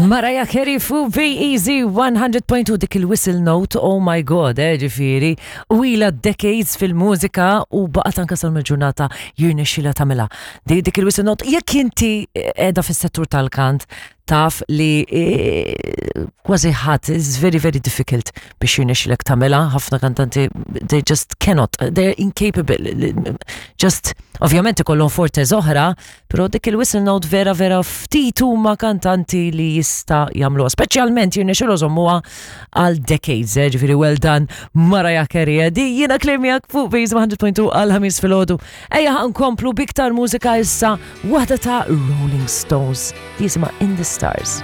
Mariah Carey fu Be Easy 100.2 dik il-whistle note, oh my God, eh, ġifiri, u ila decades fil-mużika u baqgħet anka sal-ġurnata jirnexxila tagħmilha. Dik il-whistle note, jekk inti qiegħda fis-settur tal-kant, taf li eh, kważi ħadd is very very difficult biex jirnexxilek tagħmilha, ħafna kantanti they just cannot, they're incapable. Just ovvjament ikollhom forte oħra, però dik il-whistle note vera vera ftit huma kantanti li jista' jagħmluha, speċjalment jirnexxilu żommuha għal decades, eh, ġifieri well done Mariah Carey. Eh, di jiena klimjak fuq Base 100.2 għal ħamis filgħodu. Ejja nkomplu biktar mużika issa waħda ta' Rolling Stones li jisimha In the Stars.